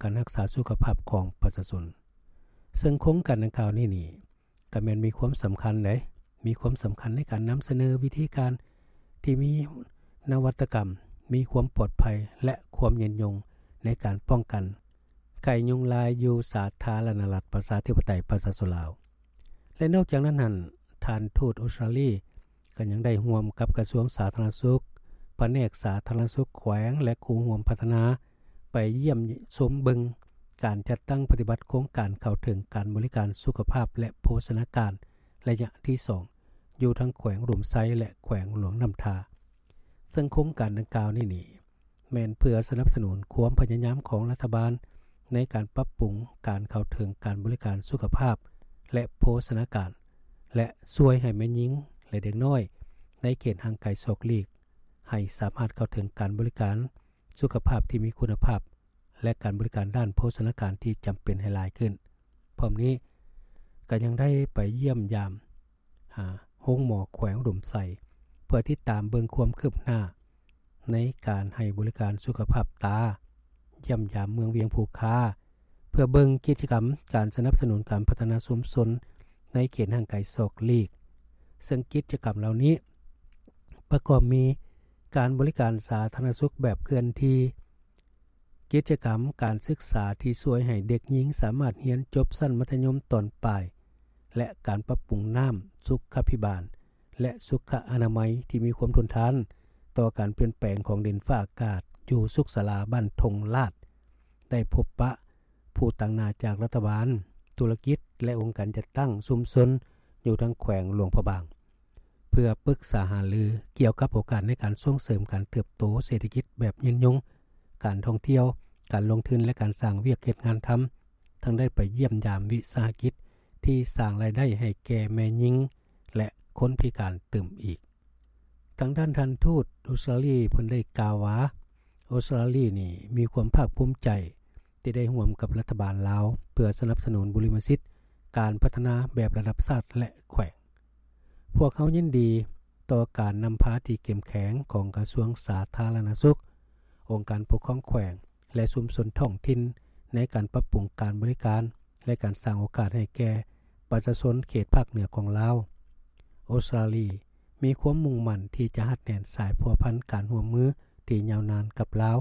ການຮັກສາສຸຂະພາບຂອງປະຊາຊົນ. ເຊິ່ງໂຄງການດັ່ງກ່າວນີ້ນີ້ ກໍແມ່ນມີຄວາມສຳຄັນເດ້ ມີຄວາມສຳຄັນໃນການນຳສະເໜີວິທີການທີ່ມີນະວັດຕະກຳ, ມີຄວາມປອດໄພ ແລະ ຄວາມຍືນຍົງໃນການປ້ອງກັນໄຂ້ຍຸງລາຍຢູ່ສາທາລະນະລັດປະຊາທິປະໄຕປະຊາຊົນລາວ. ແລະ ນອກຈາກນັ້ນຫັ້ນ ທ່ານທູດອົດສະຕຣາລີ ກໍຍັງໄດ້ຮ່ວມກັບກະຊວງສາທາລະນະສຸກ, ພະແນກສາທາລະນະສຸກແຂວງ ແລະ ຄູ່ຮ່ວມພັດທະນາ ໄປຢ້ຽມຊົມເບິ່ງການຈັດຕັ້ງປະຕິບັດໂຄງການເຂົ້າເຖິງການບໍລິການສຸຂະພາບ ແລະ ໂພຊະນາການໄລຍະທີສອງ ຢູ່ທັງແຂວງອຸດົມໄຊ ແລະ ແຂວງຫຼວງນ້ຳທາ. ເຊິ່ງໂຄງການດັ່ງກ່າວນີ້ນີ້ ແມ່ນເພື່ອສະໜັບສະໜູນຄວາມພະຍາຍາມຂອງລັດຖະບານໃນການປັບປຸງການເຂົ້າເຖິງການບໍລິການສຸຂະພາບ ແລະ ໂພຊະນາການ ແລະ ຊ່ວຍໃຫ້ແມ່ຍິງ ແລະ ເດັກນ້ອຍໃນເຂດຫ່າງໄກສອກຫຼີກ ໃຫ້ສາມາດເຂົ້າເຖິງການບໍລິການສຸຂະພາບທີ່ມີຄຸນນະພາບ ແລະ ການບໍລິການດ້ານໂພຊະນາການທີ່ຈຳເປັນໃຫ້ຫຼາຍຂຶ້ນ. ພ້ອມນີ້ກໍຍັງໄດ້ໄປຢ້ຽມຢາມ ຫາໂຮງໝໍແຂວງອຸດົມໄຊ ເພື່ອຕິດຕາມເບິ່ງຄວາມຄືບໜ້າໃນການໃຫ້ບໍລິການສຸຂະພາບຕາ, ຢ້ຽມຢາມເມືອງວຽງພູຄາ ເພື່ອເບິ່ງກິດຈະກຳການສະໜັບສະໜູນການພັດທະນາຊຸມຊົນໃນເຂດຫ່າງໄກສອກຫຼີກ. ເຊິ່ງກິດຈະກຳເຫຼົ່ານີ້ປະກອບມີການບໍລິການສາທາລະນະສຸກແບບເຄື່ອນທີ່, ກິດຈະກຳການສຶກສາທີ່ຊ່ວຍໃຫ້ເດັກຍິງສາມາດຮຽນຈົບຊັ້ນມັດທະຍົມຕອນປາຍ ແລະ ການປັບປຸງນ້ຳສຸຂະພິບານ ແລະ ສຸຂະອະນາໄມທີ່ມີຄວາມທົນທານຕໍ່ການປ່ຽນແປງຂອງດິນຟ້າອາກາດ ຢູ່ສຸກສາລາບ້ານທົ່ງລາດ ໄດ້ພົບປະຜູ້ຕາງໜ້າຈາກລັດຖະບານ, ທຸລະກິດ ແລະ ອົງການຈັດຕັ້ງຊຸມຊົນຢູ່ທາງແຂວງຫຼວງພະບາງ. ເພື່ອປຶກສາຫາລືກ່ຽວກັບໂອກາດໃນການສົ່ງເສີມການເຕີບໂຕເສດຖະກິດແບບຍືນຍົງ, ການທ່ອງທ່ຽວ, ການລົງທຶນ ແລະ ການສ້າງວຽກເຮັດງານທຳ, ທັງໄດ້ໄປຢ້ຽມຢາມວິສາຫະກິດທີ່ສ້າງລາຍໄດ້ໃຫ້ແກ່ແມ່ຍິງ ແລະ ຄົນພິການຕື່ມອີກ. ທາງດ້ານທ່ານທູດອົດສະຕຣາລີເພິ່ນໄດ້ກ່າວວ່າ ອົດສະຕະຕຣາລີນີ້ມີຄວາມພາກພູມໃຈ ທີ່ໄດ້ຮ່ວມກັບລັດຖະບານລາວ ເພື່ອສະໜັບສະໜູນບຸລິມະສິດການພັດທະນາແບບລະດັບຊາດ ແລະ ແຂວງ. ພວກເຮົາຍິນດີຕໍ່ການນຳພາທີ່ເຂັ້ມແຂງຂອງກະຊວງສາທາລະນະສຸກ, ອົງການປົກຄອງແຂວງ ແລະ ຊຸມຊົນທ້ອງຖິ່ນ ໃນການປັບປຸງການບໍລິການ ແລະ ການສ້າງໂອກາດໃຫ້ແກ່ປະຊາຊົນເຂດພາກເໜືອຂອງລາວ. ອົດສະຕະຕຣາລີ ມີຄວາມມຸ່ງໝັ້ນທີ່ຈະຮັດແໜ້ນສາຍພົວພັນການຮ່ວມມືທີ່ຍາວນານກັບລາວ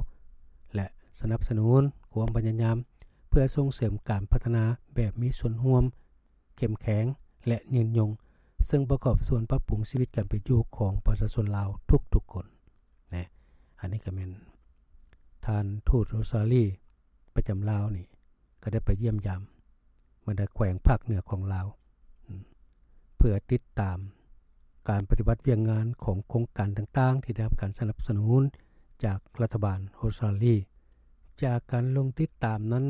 ແລະ ສະໜັບສະໜູນຄວາມພະຍາຍາມເພື່ອສົ່ງເສີມການພັດທະນາແບບມີສ່ວນຮ່ວມເຂັ້ມແຂງ ແລະ ຍືນຍົງ, ເຊິ່ງປະກອບສ່ວນປັບປຸງຊີວິດການເປັນຢູ່ຂອງປະຊາຊົນລາວທຸກໆຄົນ. ນະ ອັນນີ້ກໍແມ່ນທ່ານທູດອົດສະຕະຕຣາລີປະຈຳລາວນີ້ ກໍໄດ້ໄປຢ້ຽມຢາມບັນດາແຂວງພາກເໜືອຂອງລາວ ອາ ເພື່ອຕິດຕາມການປະຕິບັດວຽກງານຂອງໂຄງການຕ່າງໆ ທີ່ໄດ້ຮັບການສະໜັບສະໜູນຈາກລັດຖະບານອົດສະຕະຕຣາລີ. ຈາກການລົງຕິດຕາມນັ້ນ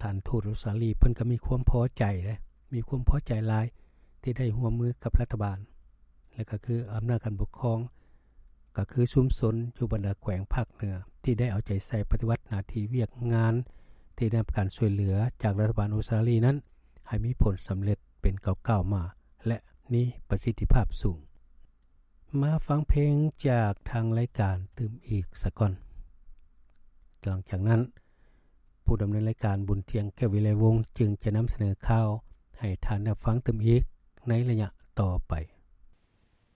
ທ່ານທູດອົດສະຕະຕຣາລີເພິ່ນກໍມີຄວາມພໍໃຈເດ້ ມີຄວາມພໍໃຈຫຼາຍທີ່ໄດ້ຮ່ວມມືກັບລັດຖະບານ ແລະ ກໍຄືອຳນາດການປົກຄອງ ກໍຄືຊຸມຊົນຢູ່ບັນດາແຂວງພາກເໜືອ ທີ່ໄດ້ເອົາໃຈໃສ່ປະຕິບັດໜ້າທີ່ວຽກງານທີ່ໄດ້ຮັບການຊ່ວຍເຫຼືອຈາກລັດຖະບານອົດສະຕະຕຣາລີນັ້ນ ໃຫ້ມີຜົນສຳເລັດເປັນກ້າວໆມາ ແລະ ມີປະສິດທິພາບສູງ. ມາຟັງເພງຈາກທາງລາຍການຕື່ມອີກສາກ່ອນ. ຫຼັງຈາກນັ້ນ ຜູ້ດຳເນີນລາຍການ ບຸນທຽງ ແກ້ວວິໄລວົງ ຈຶ່ງຈະນຳສະເໜີຂ່າວໃຫ້ທ່ານໄດ້ຟັງຕື່ມອີກໃນໄລຍະຕໍ່ໄປ.